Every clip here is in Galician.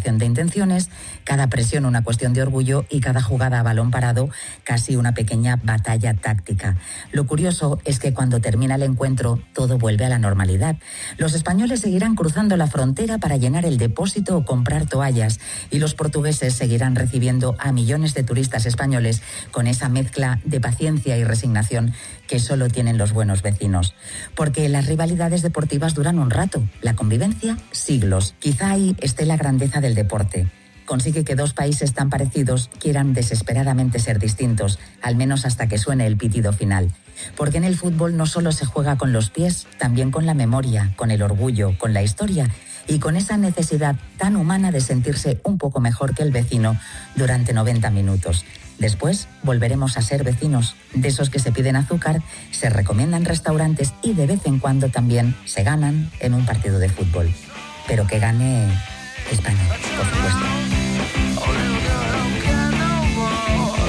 declaración de intenciones, cada presión una cuestión de orgullo y cada jugada a balón parado casi una pequeña batalla táctica. Lo curioso es que cuando termina el encuentro todo vuelve a la normalidad. Los españoles seguirán cruzando la frontera para llenar el depósito o comprar toallas y los portugueses seguirán recibiendo a millones de turistas españoles con esa mezcla de paciencia y resignación que solo tienen los buenos vecinos. Porque las rivalidades deportivas duran un rato, la convivencia siglos. Quizá ahí esté la grandeza del deporte. Consigue que dos países tan parecidos quieran desesperadamente ser distintos, al menos hasta que suene el pitido final. Porque en el fútbol no solo se juega con los pies, también con la memoria, con el orgullo, con la historia y con esa necesidad tan humana de sentirse un poco mejor que el vecino durante 90 minutos. Después volveremos a ser vecinos, de esos que se piden azúcar, se recomiendan restaurantes y de vez en cuando también se ganan en un partido de fútbol. Pero que gane España, por supuesto.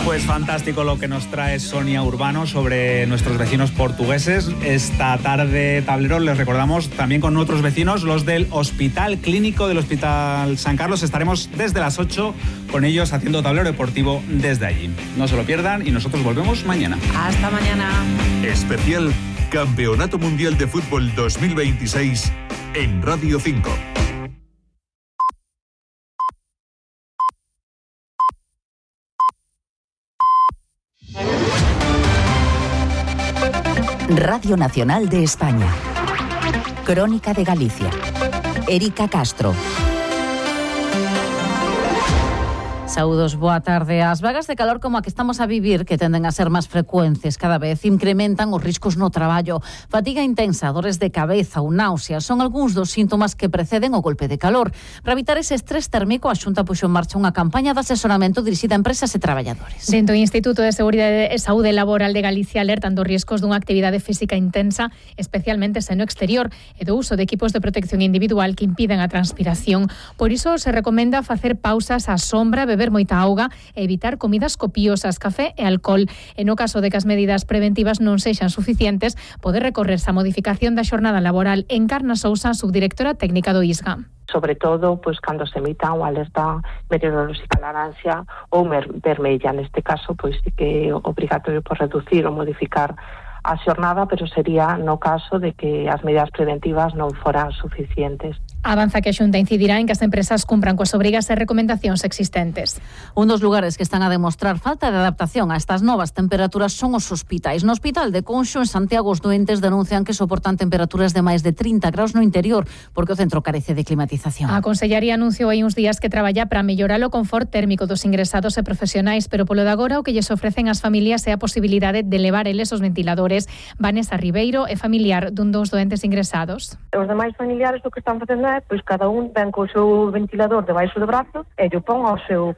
Pues fantástico lo que nos trae Sonia Urbano sobre nuestros vecinos portugueses. Esta tarde, tablero, les recordamos también con otros vecinos, los del Hospital Clínico del Hospital San Carlos. Estaremos desde las 8 con ellos haciendo tablero deportivo desde allí. No se lo pierdan y nosotros volvemos mañana. Hasta mañana. Especial Campeonato Mundial de Fútbol 2026 en Radio 5. Radio Nacional de España. Crónica de Galicia. Erika Castro. Saúdos, boa tarde. As vagas de calor como a que estamos a vivir, que tenden a ser máis frecuentes cada vez, incrementan os riscos no traballo. Fatiga intensa, dores de cabeza ou náuseas son algúns dos síntomas que preceden o golpe de calor. Para evitar ese estrés térmico, a Xunta puxo en marcha unha campaña de asesoramento dirixida a empresas e traballadores. Dentro do Instituto de Seguridade e Saúde Laboral de Galicia alertan dos riscos dunha actividade física intensa, especialmente se no exterior, e do uso de equipos de protección individual que impiden a transpiración. Por iso se recomenda facer pausas á sombra, beber moita auga e evitar comidas copiosas, café e alcohol. E no caso de que as medidas preventivas non sexan suficientes, pode recorrerse a modificación da xornada laboral. Encarna Sousa, subdirectora técnica do ISGA. Sobre todo, pois cando se emita unha alerta meteorolóxica laranxa ou vermella. Neste caso, pois sí que é obrigatorio por reducir ou modificar a xornada, pero sería no caso de que as medidas preventivas non foran suficientes. Avanza que a Xunta incidirá en que as empresas cumpran coas obrigas e recomendacións existentes. Un dos lugares que están a demostrar falta de adaptación a estas novas temperaturas son os hospitais. No Hospital de Conxo, en Santiago, os doentes denuncian que soportan temperaturas de máis de 30 graus no interior, porque o centro carece de climatización. A Consellería anunciou hai uns días que traballa para mellorar o confort térmico dos ingresados e profesionais, pero polo de agora o que lles ofrecen as familias é a posibilidade de levar eles os ventiladores. Vanessa Ribeiro é familiar dun dos doentes ingresados. Os demais familiares o que están facendo é, pois cada un ven co seu ventilador debaixo do brazo e lle pon ao seu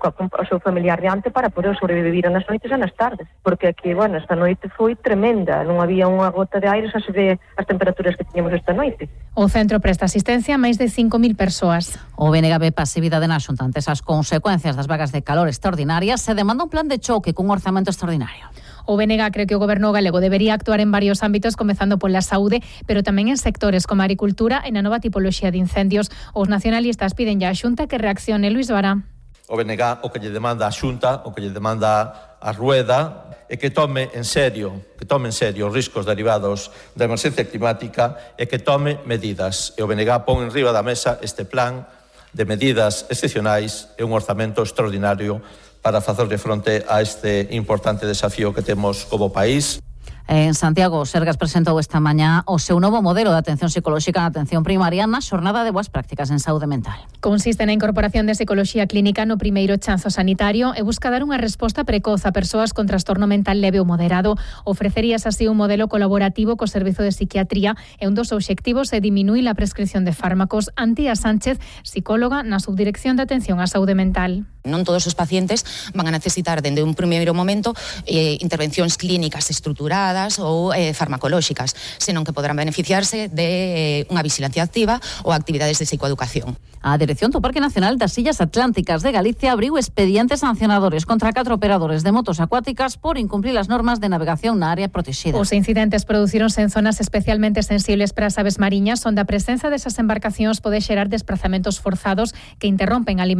familiar diante para poder sobrevivir nas noites e nas tardes. Porque aquí, bueno, esta noite foi tremenda, non había unha gota de aire, xa se ve as temperaturas que tiñamos esta noite. O centro presta asistencia a máis de 5.000 persoas. O BNG ve pasividade na Xunta ante as consecuencias das vagas de calor extraordinarias. Se demanda un plan de choque cun orzamento extraordinario. O BNG cree que o Goberno galego debería actuar en varios ámbitos, comezando pola saúde, pero tamén en sectores como a agricultura e na nova tipoloxía de incendios. Os nacionalistas piden ya a Xunta que reaccione. Luis Vara. O BNG o que lle demanda a Xunta, o que lle demanda a Rueda, é que tome en serio os riscos derivados da emerxencia climática e que tome medidas. E o BNG pon en riba da mesa este plan de medidas excepcionais e un orzamento extraordinario para facerle fronte a este importante desafío que temos como país. En Santiago, o Sergas presentou esta mañá o seu novo modelo de atención psicolóxica na atención primaria na xornada de boas prácticas en saúde mental. Consiste na incorporación de psicoloxía clínica no primeiro chanzo sanitario e busca dar unha resposta precoz a persoas con trastorno mental leve ou moderado. Ofrecerías así un modelo colaborativo co Servizo de Psiquiatría e un dos obxectivos é diminuir a prescripción de fármacos. Antía Sánchez, psicóloga na Subdirección de Atención á Saúde Mental. Non todos os pacientes van a necesitar dende un primeiro momento intervencións clínicas estruturadas ou farmacolóxicas, senón que poderán beneficiarse de unha vigilancia activa ou actividades de psicoeducación. A Dirección do Parque Nacional das Illas Atlánticas de Galicia abriu expedientes sancionadores contra 4 operadores de motos acuáticas por incumplir as normas de navegación na área protexida. Os incidentes producíronse en zonas especialmente sensibles para as aves mariñas, onde a presenza desas embarcacións pode xerar desprazamentos forzados que interrompen a alimentación